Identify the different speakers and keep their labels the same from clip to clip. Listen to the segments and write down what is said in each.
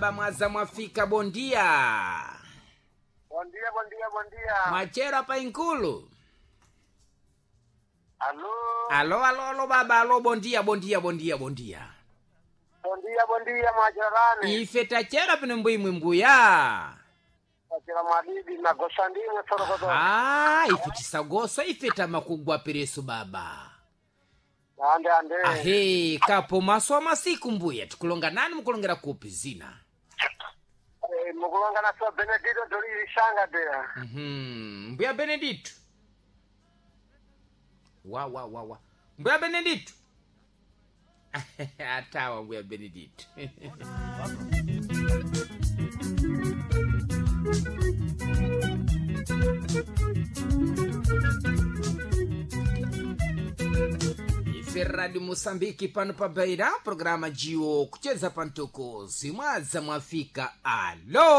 Speaker 1: Mwaza mwafika bondia.
Speaker 2: Bom dia, bom dia, bom dia.
Speaker 1: Mwachera pa inkulu.
Speaker 2: Alô?
Speaker 1: Alo alo alo baba alo bondia bondia bondia bondia.
Speaker 2: Bom dia, bom dia, mwacherani.
Speaker 1: Ife tachera pano mbwimwe mbuya.
Speaker 2: Mwachera mwadidi magosa ndimwe sorokoto.
Speaker 1: Ah, ife tisagosa ife tamakugwa pereso baba.
Speaker 2: Ande ande.
Speaker 1: Ahe, kapo maso amasiku mbuya tikulonga nani mukulongera kupi zina.
Speaker 2: Eh, mukulonga na so Benedito Dolili Shanga dea.
Speaker 1: Mbuya Benedito. Wa wa wa wa. Mbuya Benedito. Atawa mbuya Benedito. Ife Radio Moçambique pano pa Beira, programa Gio kucheza pantoko zimwadza mwafika. Alo.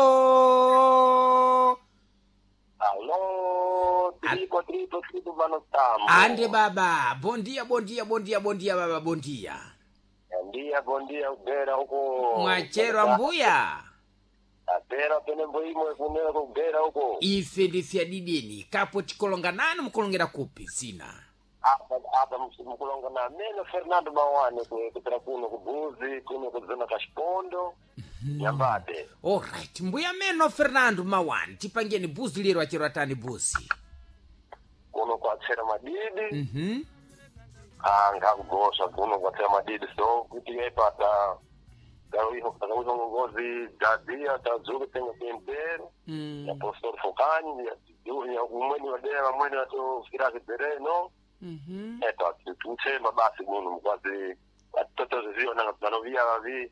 Speaker 2: Alô, tripo, tripo, tripo, mano tambo.
Speaker 1: Ande baba, bom dia, bom dia, bom dia, bom dia baba, bom dia.
Speaker 2: Bom dia, bom dia, ubera huko.
Speaker 1: Mwacherwa mbuya.
Speaker 2: Abera pene mboimwe kunera kubera huko.
Speaker 1: Ife ndifya didini kapo tikolonga nani mukulongera kupi zina.
Speaker 2: Apa apa mukulonga na meno Fernando Mawane kupera kuno kubuzi, kuno kuzona kashipondo. Nyambate.
Speaker 1: Alright, mbuya meno Fernando Mawani, tipangeni buzi lero acherwa tani buzi.
Speaker 2: Kuno kwatsera madidi.
Speaker 1: Mhm.
Speaker 2: Ngakugosa kuno kwatsera madidi so kuti yaipata takauiho ngozi dadia tadzuke tenga kuempero ya professor Fokani ya umweni wadera vamweni vatofikira kibhereno eto tuchemba basi kuno mukwazi atotozviona vanovia vavi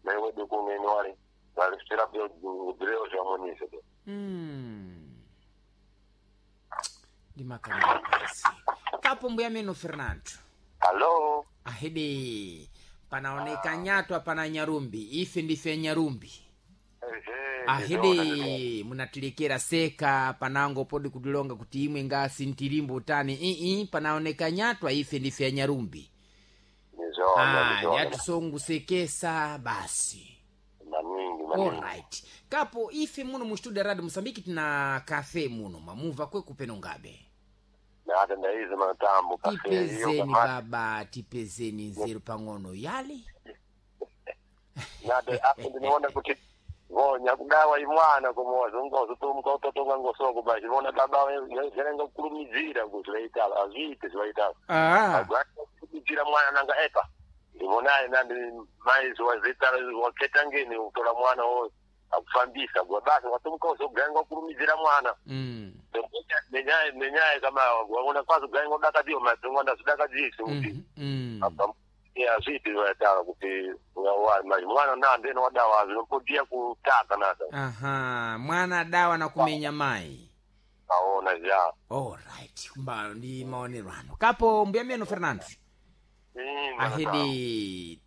Speaker 2: naiwedu kuno ino wari varisira bhireo zvamoniso
Speaker 1: Ndimakalira basi. Kapo mbuya meno Fernando.
Speaker 2: Alo.
Speaker 1: Ahede panaoneka nyatwa pana nyarumbi ife ndife nyarumbi. Ahede munatilikira seka panango podi kutilonga kuti imwe ngasi ntilimbo tani ii panaoneka nyatwa ife ndife ya nyarumbi.
Speaker 2: Ndizvona.
Speaker 1: Ah, yatisongusekesa basi.
Speaker 2: Maningi maningi.
Speaker 1: Alright, kapo ife muno mu studio radio Mosambiki tina kafe muno mamuva kwekupeno ngabe
Speaker 2: Nada ndaizi matambo kafe iyo
Speaker 1: tipezeni
Speaker 2: kama
Speaker 1: baba tipezeni nzeru pang'ono yali
Speaker 2: nade apo ndinoona kuti vonya kudawa imwana kumoza ungozotomuka utotonga ngosoko bashi vona baba verenga kukurumidzira kuti vaitala azviite zvaitala
Speaker 1: ah.
Speaker 2: kurumidzira mwana nanga epa ndivonaye nandi mai wazitala waketa ngeni utora mwana wo akufambisa gwa basi watomuka uzoganga kurumidzira mwana Menyaye menyaye kama waona kwazo ganga udakadziwa madzingo ndazvidakadzisi kuti apa azviiti zvaitala kuti mwana nandeno wadawa zvinopodia kutaka nata.
Speaker 1: Aha, mwana dawa na kumenya mai.
Speaker 2: Aona zva.
Speaker 1: Alright, kumba ndi maonero ano kapo mbuya meno Fernando. Ahedi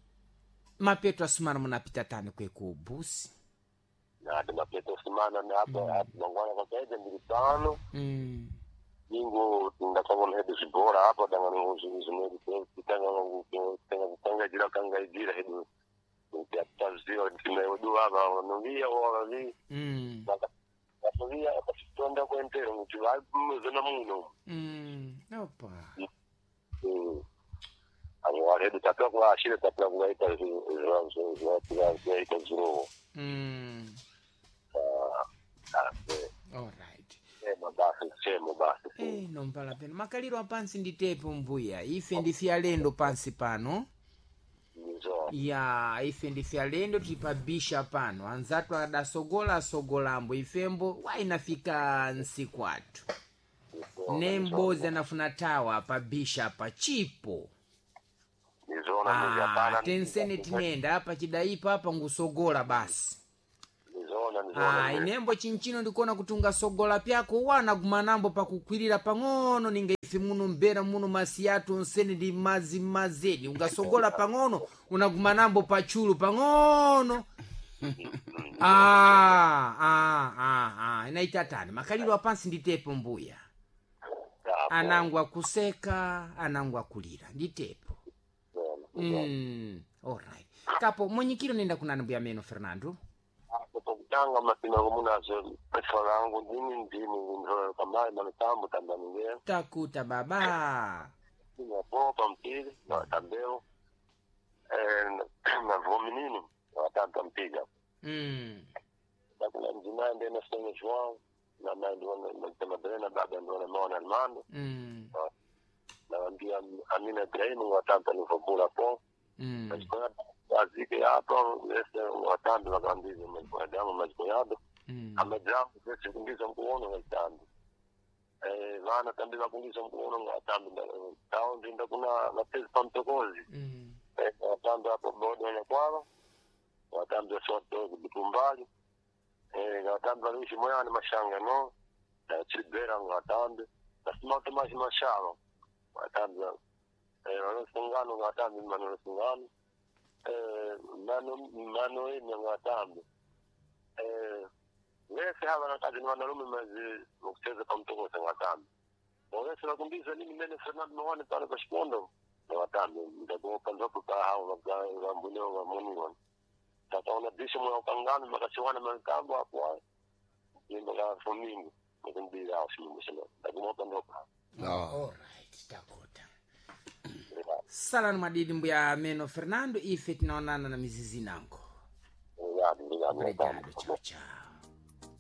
Speaker 1: mapeto asumana munapita tani kweku busi.
Speaker 2: Nati mapeto simana napa mangwana kwakaita ndiri pano ingo ndakavona hedu zvibhora apa dangano zvinotenga kangaidzira hedu taziva kuti maiwedu vava vanoviya wavavi vatoviya vatitonda kuentero kuti vamuzona muno.
Speaker 1: Opa.
Speaker 2: Avo hedu tapera kuvaashira tapera kuvaita zvaita zvirovo.
Speaker 1: Alright.
Speaker 2: Chema basi chema basi.
Speaker 1: Eh, nompala peno makaliro apansi nditepo mbuya ife ndife alendo pansi pano.
Speaker 2: Ndizvo.
Speaker 1: Ya ife ndife alendo tipabisha pano anzatu adasogola asogolambo ifembo wainafika nsiku atu nembozi anafuna tawa pabisha pa chipo.
Speaker 2: Ndizvona.
Speaker 1: Ah, tensene tinenda apa chidaipa apa ngusogola basi.
Speaker 2: Ndizvona.
Speaker 1: Ah,
Speaker 2: Ndizvona.
Speaker 1: inembo chinchino ndikuona kuti ungasogola pyako wana gumanambo pakukwirira pang'ono ninga ife muno mbera muno masiyatu onsene ndi mazi mazedi ungasogola pang'ono unagumanambo pachulu pang'ono. Ah, ah, ah, ah. Inaita tani makaliro apansi nditepo mbuya anangu akuseka anangu akulira nditepo. Alright, kapo mwenyikiro nenda kunani mbuya meno Fernando.
Speaker 2: Tanga matina kumunazo efalangu ndini ndini ndo kamayi manutambo tambaningea.
Speaker 1: Takuta baba.
Speaker 2: Napo pampili na watambeo na vominini na watamba mpiga. Nakuna mjinai ndiye na João na na baba ndio na maona Armando. Nawambia Amina Ibrahimu watamba nivobula po. Azike hapa ese watambi wakambiza majikoyadamu majikoyado. Amajamu ese kungiza mkuono watambi. Vana tambi vakungiza mkuono watambi tao ndinda kuna mapezi pamtokozi. Watambi hapo bodo na kwava watambi soto kumbali watambi valuishi moyani mashanga no na chibera watambi nasima mashi mashalo watambi wanosungano watambi manosungano mano mano enya watambi wese hava nakazi ni wanalume mazi kucheza pamtokozi watambi wese vakumbiza nini mene Fernando Mawane pale pa Shikondo na watambi ndagopa ndopo pa hao vambuneo vamuniwa tataona bisho mwa ukangano makasiwana makambo hapo hapo nyimbo ka fomingo mukumbira au shimbo shimbo ndagopa ndopo.
Speaker 1: Alright, takuta. Salani madidi mbuya meno Fernando, ife tinaonana na mizizi nango.
Speaker 2: Obrigado, obrigado.
Speaker 1: Obrigado, tchau, tchau.